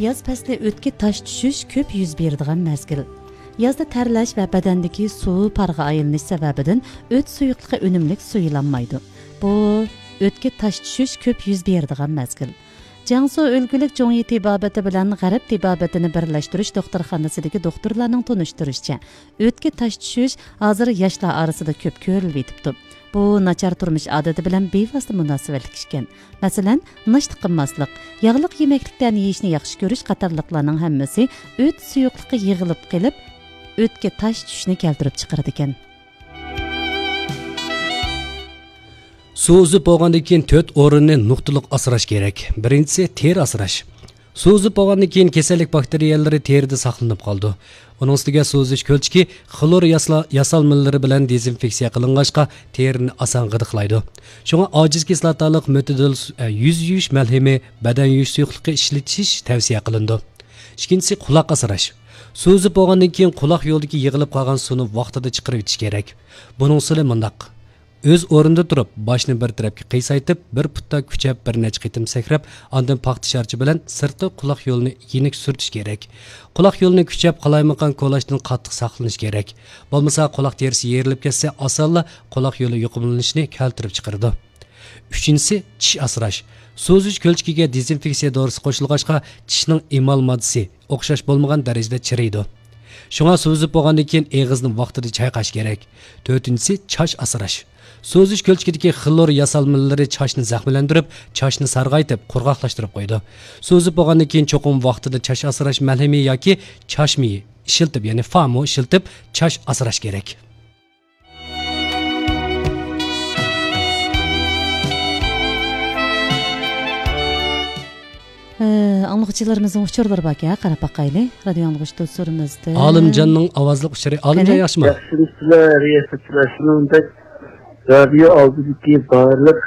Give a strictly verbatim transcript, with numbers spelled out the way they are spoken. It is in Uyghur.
ياز پەسلى ئۆتكە تاش چۈشۈش كۆپ يۈز بېرىدىغان مەزگىل. يازدا تەرلەش ۋە بەدەندىكى سۇ پارغا ئايلىنىش سەۋەبىدىن ئۆت سۇيۇقلۇقى ئۈنۈملۈك سۇيۇلالمايدۇ. بۇ ئۆتكە تاش چۈشۈش كۆپ يۈز بېرىدىغان مەزگىل. جياڭسۇ ئۆلكىلىك جۇڭيى تېبابىتى بىلەن غەرب تېبابىتىنى بىرلەشتۈرۈش دوختۇرخانىسىدىكى دوختۇرلارنىڭ تونۇشتۇرۇشىچە، ئۆتكە تاش چۈشۈش ھازىر ياشلار ئارىسىدا كۆپ كۆرۈلۈۋېتىپتۇ. بۇ ناچار تۇرمۇش ئادىتى بىلەن بىۋاسىتە مۇناسىۋەتلىك ئىكەن. مەسىلەن، ناشتا قىلماسلىق، ياغلىق يېمەكلىكلەرنى يېيىشنى ياخشى كۆرۈش قاتارلىقلارنىڭ ھەممىسى ئۆت سۇيۇقلۇقى يىغىلىپ قېلىپ، ئۆتكە تاش چۈشۈشنى كەلتۈرۈپ چىقىرىدىكەن. سۇ ئۈزۈپ بولغاندىن كېيىن تۆت ئورۇننى نۇقتىلىق ئاسراش كېرەك. بىرىنچىسى، تېرە ئاسراش. سۇ ئۈزۈپ بولغاندىن كېيىن كېسەللىك باكتېرىيەلىرى تېرىدە ساقلىنىپ قالىدۇ. ئۇنىڭ ئۈستىگە سۇ ئۈزۈش كۆلچىكى خلور ياسلا-، ياسالمىلىرى بىلەن دېزىنفېكسىيە قىلىنغاچقا، تېرىنى ئاسان غىدىقلايدۇ. شۇڭا ئاجىز كىسلاتالىق مۆتىدىل سۇ-، ئە، يۈز يۇيۇش مەلھىمى، بەدەن يۇيۇش سۇيۇقلۇقى ئىشلىتىش تەۋسىيە قىلىنىدۇ. ئىككىنچىسى، قۇلاق ئاسراش. سۇ ئۈزۈپ بولغاندىن كېيىن قۇلاق يولىدىكى يىغىلىپ قالغان سۇنى ۋاقتىدا چىقىرىۋېتىش كېرەك. بۇنىڭ ئۇسۇلى مۇنداق. ئۆز ئورنىدا تۇرۇپ، باشنى بىر تەرەپكە قىيسايتىپ، بىر پۇتتا كۈچەپ بىر نەچچە قېتىم سەكرەپ، ئاندىن پاختا شارچى بىلەن سىرتقى قۇلاق يولىنى يېنىك سۈرتۈش كېرەك. قۇلاق يولىنى كۈچەپ، قالايمىقان كولاچتىن قاتتىق ساقلىنىش كېرەك. بولمىسا، قۇلاق تېرىسى يېرىلىپ كەتسە، ئاسانلا قۇلاق يولى يۇقۇملىنىشىنى كەلتۈرۈپ چىقىرىدۇ. ئۈچىنچىسى، چىش ئاسراش. سۇ ئۈزۈش كۆلچىكىگە دېزىنفېكسىيە دورىسى قوشۇلغاچقا، چىشنىڭ ئېمال ماددىسى ئوخشاش بولمىغان دەرىجىدە چىرىيدۇ. شۇڭا سۇ ئۈزۈپ بولغاندىن كېيىن ئېغىزنى ۋاقتىدا چايقاش كېرەك. تۆتىنچىسى، چاچ ئاسراش. سۇ ئۈزۈش كۆلچىكىدىكى خلور ياسالمىلىرى چاچنى زەخىملەندۈرۈپ، چاچنى سارغايتىپ، قۇرغاقلاشتۇرۇپ قويىدۇ. سۇ ئۈزۈپ بولغاندىن كېيىن چوقۇم ۋاقتىدا چاچ ئاسراش مەلھىمى ياكى چاچ مېيى ئىشلىتىپ، يەنى فامۇ ئىشلىتىپ، چاچ ئاسراش كېرەك. ئە، ئاڭلىغۇچىلىرىمىزنىڭ ئۇچۇرلىرى باركەن، قاراپ باقايلى. رادىيو ئاڭلىغۇچى دوستلىرىمىزدىن. ئالىمجاننىڭ ئاۋازلىق ئۇچۇرى. ئالىمجان، قېنى؟ ياخشىمۇ؟ ياخشىمۇسىلەر، رىياسەتچىلەر؟ شۇنىڭدەك رادىيو ئالدىدىكى بارلىق